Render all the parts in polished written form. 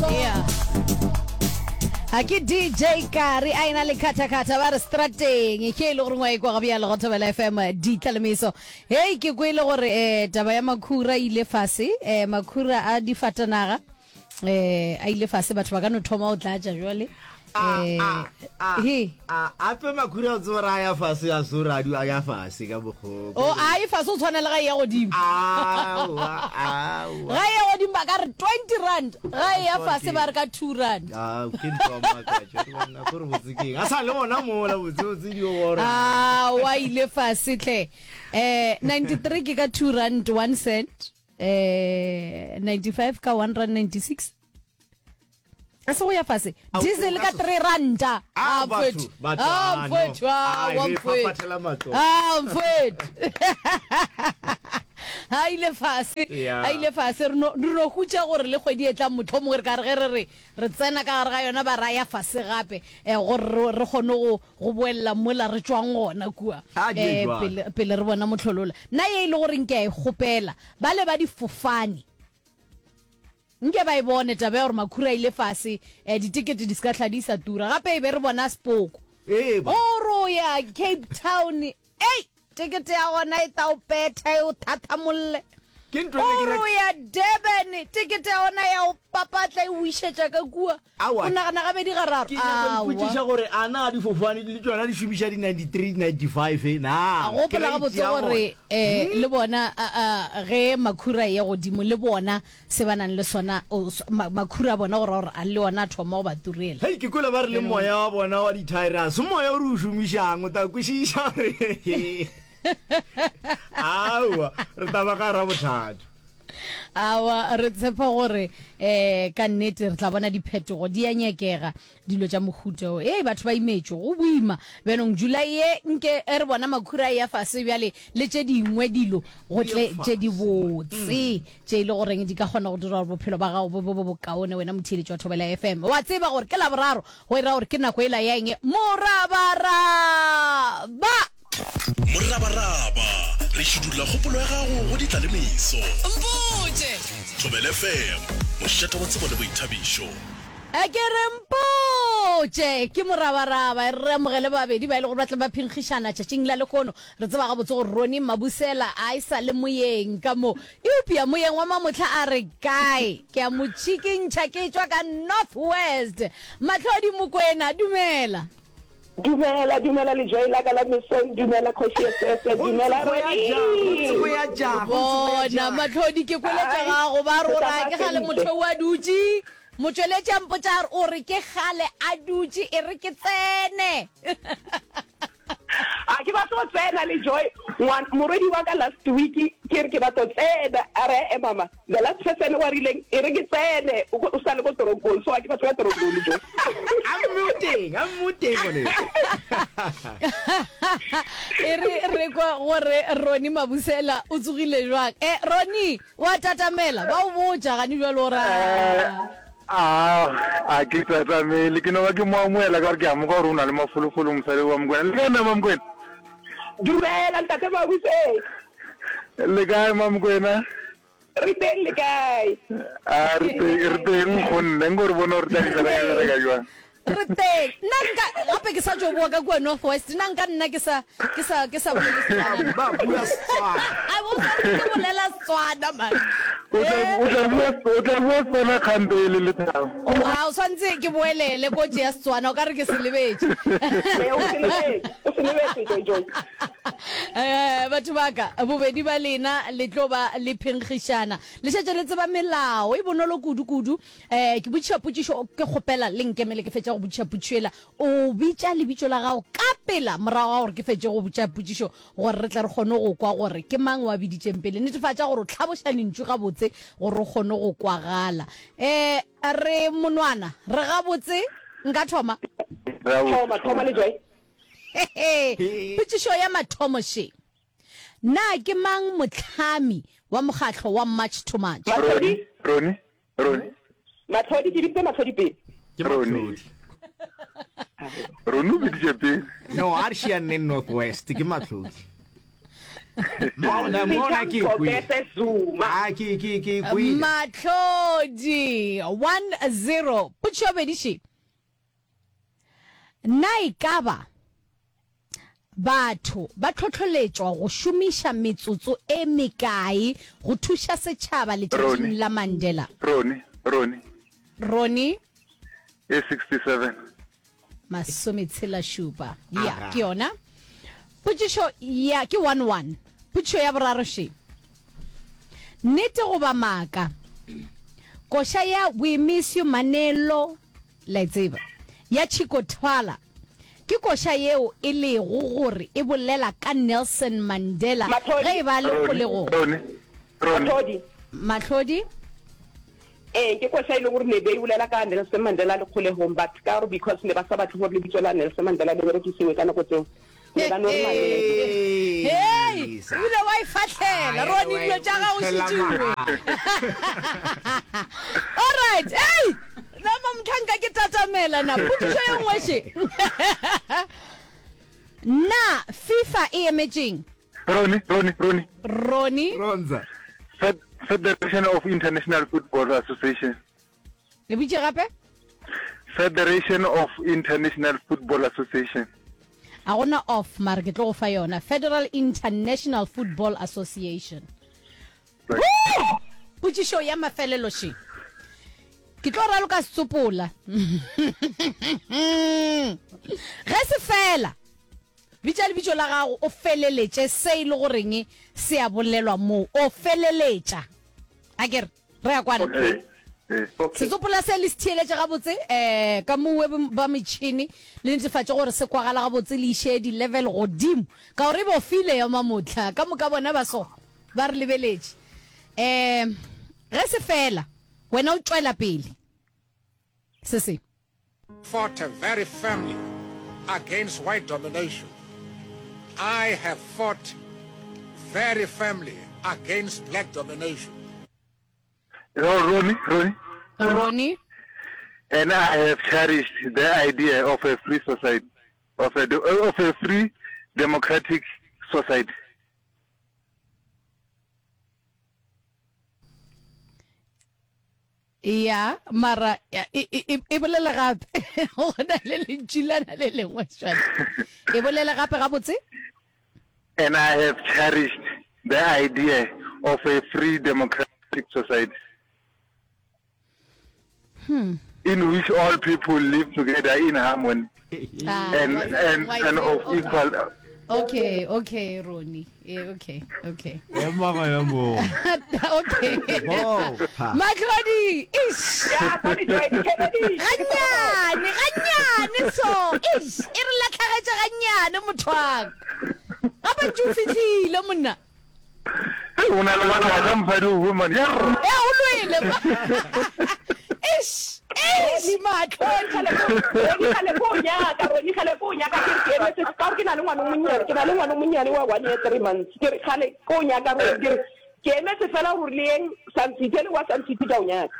Yeah. A ke DJ Kari a ena le khathakhatha ba re strateng ke e le gore ngwa e kwa ga bjalo go Thobela FM ditlalemeso. Hei ke kwele gore eh taba ya makhura e ile fase eh makhura a difatanaga eh a ile fase batho ba ka no thoma go tlatša jwale eh he a ape makhura o tseba ra ya fase a so ra a ya fase ka mokgo o a e fase o tshwana le ga e ya godimo aowa aowa ga e ya godimo ba ka re 20 rand ga e ya fase ba re ka 2 rand a ke ntho ya makatša ke bona gore botse keng a sa le gona mola botse botse di gore a wa ile fase tle eh 93 ke ka 2 rand 1 cent eh 95 ka 1 rand 96 a se go ya fase diesel ka 3 ranta a mfethu a mfethu a mfethu a mfethu a ile fase a ile fase re no re no hutša gore le kgwedi e tlang motlho mongwe re ka re ge re re re tsena ka gare ga yona ba raya fase gape um gore re kgone go go boelela mola re tšwang gona kua A di ye um jwalo. pele, pele re bona mohlolola. Nna ye e le goreng ke a e kgopela, bale ba difofane nke ba e bone taba ya gore makhura a ile fase, um ditekete di se ka hla di sa tura. Gape e be re bona sepoko. Ee ba. Gore o ya Cape Town, ei! Tekete ya gona e tla o petha e o thathamolle. Ke ntho e ne ke O re nyaka- o ya Durban, tekete ya gona ya o papatla e o išetša ka kua. Aowa. O nagana gabedi gararo. Ke nyaka go ipotšiša Aowa. gore a na difofane le tšona di šomiša di 93, 95 na? A gopola gabotse Grade ya gore bona. um le bona a, a, ge makhura a eya godimo le bona se ba nang le sona, o, ma, makhura a bona go ra gore a le ona a thoma go ba turela. Hei, ke kwele ba re le moya wa bona wa dithaere ga se moya o re o šomišang, o tla kwešiša gore aowa, re tla ba ka gara bothata. Aowa, re tshepa gore um ka nnete re tla bona diphetogo, di a nyakega. Dilo tša mohuta wo. Hei, batho ba imetšwe. Go boima. Bjanong, July ye, nke re bona makhura a eya fase bjale, le tše dingwe dilo, go tle tše dibotse, tše e le goreng di ka kgona go dira gore bophelo ba gago bo be bo bokaone, wena motheeletši wa Thobela FM. Wa tseba gore ke Laboraro, go e ra gore ke nako yela ya eng? Morabaraba! Morabaraba, re šidulla kgopolo ya gago go ditlalemeso. Mpotše! Thobela FM, mošate wa tsebo le boithabišo. A ke re mpotše, ke morabaraba. E re re amogele babedi ba e le gore ba tla ba phenkgišana tšatšing la lehono. Re tseba gabotse gore Ronnie Mabusela a e sa le moyeng ka mo. Eupša moyeng wa mamohla a re kae? Ke a mo tšhikintšha ke tšwa ka North West. Mahlodi Mokwena, dumela. Dumela, dumela lejoe la ka la mesong, dumela Kgoši Esese, dumela Ronnie. Bona, Mahlodi, ke kwele tša gago ba re o ra ke gale motho o a dutše. Motšweletši a mpotša a re, O re ke kgale a dutše, e re ke tsene. A ke batlo tsena le Joy, ngwan, morwedi wa ka last week ke re ke batlo tsena, a re e mama, the last person wa rileng e re ke tsene, o o sa le ko toronkong, so a ke batlo ya toronkong le Joy. A mme o teng, a mme o teng ngwaneso. E re re kwa gore Ronnie Mabusela o tsogile jwang. Eh, Ronnie! Wa tatamela, ba o botša gane bjalo o ra. A a ke tatamele, ke no ba ke mo amohela ka gore ke a mo kwa gore o na le mafolofolo mosadi wa Mokwena. Le kae na Mamokwena? Dumela ntate Mabuse. Le kae Mamokwena? Re teng le kae? A re teng, re teng nkgonne, nko re bone gore tla di bereka bereka jwang. Re teng. Nna nka, gape ke sa tšo boa ka kua North West, nna nka nna ke sa, ke sa, ke sa bolele Setswana. Ba bua Setswana. I will sa ke bolela Setswana, man. O tla, o tla bua, o tla bua Setswana kgante e le lethabo. A o swantse ke boelele ko tšea Setswana, o ka re ke se lebetše. Ee, o se lebetše, o se lebetše, Joy Joy. Eh, batho ba ka, bobedi ba lena le tlo ba le phenkgišana. Le šetše le tseba melao, e bonolo kudu kudu. Eh, ke botšiša potšišo, ke kgopela le nkemele ke fetša go botšiša potšišo yela. O bitša lebitso la gago ka pela morago ga gore ke fetše go botša potšišo gore re tle re kgone go kwa gore ke mang wa biditšeng pele. Netefatša gore o hlaboša lentšu gabotse gore o kgone go kwagala. Eh, re monwana, re gabotse? Nka thoma? Thoma, thoma le Joy. Potšišo ya mathomo še. Na ke mang mohlami wa mokgatlo wa March to March? Mahlodi. Roni, Roni. Mahlodi, ke biditse Mahlodi pele. Ke Mahlodi. Roni o biditše pele. No, a re šianeng North West, ke Mahlodi. Mona mona ke kwele. Ngobese Zuma. Ah ke ke ke kwele. Matlodi 1-0. Potšišo ya bobedi še. Na e ka ba batho ba hlohleletšwa go šomiša metsotso e mekae go thuša setšhaba letšatšing Roni. la Mandela? Roni, Roni. Roni. E 67. Masometshelašupa. Ya, Aga. ke yona. Potšišo ya, ke 1 1. Potšišo ya boraro še. Nnete goba maaka? Koša ya We Miss You Manelo, la e tseba, ya Chico Twala, ke koša yeo e lego gore e bolela ka Nelson Mandela Mahlodi. ge e ba a le Roni, kgolegong. Roni, Roni. Mahlodi. Mahlodi. Ee, ke koša e leng gore ne be e bolela ka Nelson Mandela a le kgolegong but ka gore because ne ba sa batle gore lebitso la Nelson Mandela le berekisiwe ka nako tseo, ne ba no re Mandela. Hei, ebile wa e fahlela, Ronnie, dilo tša gago šetšuwe. Alright, hei, nama mohlanka ke tatamela na, potšišo ye nngwe še. Na FIFA e emetšeng? Ronnie, Ronnie, Ronnie. Ronnie. Ronza. Fed Federation of International Football Association. Le botše gape? Federation of International Football Association. A gona off mara ke tlo go fa yona. Federal International Football Association. Right. Woo! Potšišo ya mafelelo še. Ke tlo raloka setsopola. Ge se fela, Bitša lebitso la gago o feleletše se e le goreng se a bolelwa moo. O feleletša. A ke re, re a kwana? Okay. Eh. Setsopola se le se theeletše gabotse um ka mowe ba metšhene le netefatše gore se kwagala gabotse le iše di-level godimo ka gore e bofile ya mamohla ka moka bona ba so ba re lebeletše. Um ge se fela wena o tšwela pele se se. Fought very firmly against white domination. I have fought very firmly against black domination. Oh, Ronnie, Ronnie. Ronnie. And I have cherished the idea of a free society, of a, of a free democratic society. Ya, mara e, e, e, e bolele gape. Go na le lentšu lana le lengwe jwale. E bolele gape gabotse. And I have cherished the idea of a free democratic society. Hmm. In which all people live together in harmony ah, and, and, and of equal Okay, okay, Ronnie. Eh, okay, okay. Ema gona moo. Okay. Bopha. Matlodi, ish. Ya, sorry, Joy, Kennedy. Gannyane, gannyane so. Ish, e re latlhagetše gannyane motho wa ka. Gape ntše o fihlile monna. O na le mathata mosadi o woman. E o lwele. Ish, ish, Matlodi. Roni kgale ko o nyaka, Roni kgale ko o nyaka ke re ke emetse ka gore ke na le ngwana o monnyane, ke na le ngwana o monnyane wa one year three months. Ke re kgale ko o nyaka Roni, ke re ke emetse fela gore le yeng Sun City, le wa Sun City ka o nyaka.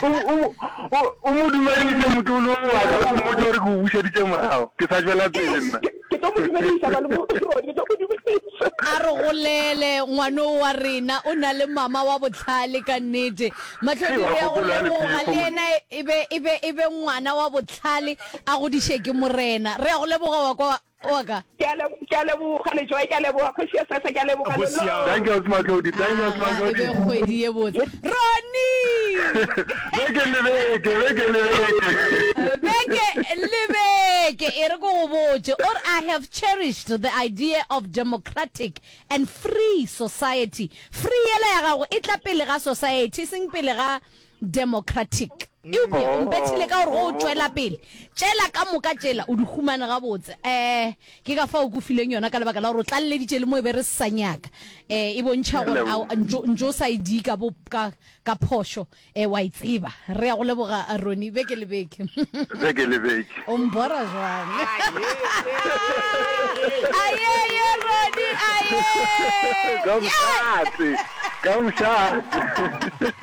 O, o, o mo dumedise motlolo wa ka, o mmotse gore ke o bušeditše morago. Ke sa tšwela pele nna. Ke tlo mo dumedisa, malome Roni, ke tlo mo dumedisa. A re golele, ngwano wa rena o na le mama wa bohlale ka nnete. Mahlodi re ya go leboga, le yena e be, e be, e be ngwana wa bohlale, a godiše ke Morena. Re ya go leboga wa kwa Wa ka. Ke a leboga, ke a leboga Lejoe, ke a leboga Kgoši ya Sesa, ke a leboga Go Lolo. siame. Thank you, Ausi Matlodi. Thank you, Ausi Aga, e be Matlodi. kgwedi ye botse. Ronnie! Beke le beke, beke le beke. Beke le beke, e re ke go botše, o re, I have cherished the idea of democratic and free society. Free yela ya gago e tla pele ga society, e seng pele ga Democratic. Eupša o mpethile ka gore go o tšwela pele, tšela ka moka tšela o di humane gabotse. Eh, ke ka fao ke o fileng yona ka lebaka la gore o tlaleleditše le mo e be re se sa nyaka. Eh, e bontšha gore a ntšo ntšo o sa e dika bo ka ka phošo, eh, wa e tseba. Re ya go leboga Ronnie beke le beke. Beke le beke. O mbora jwang? Ayeye Ronnie, ayeye. Ka mošate, ka mošate.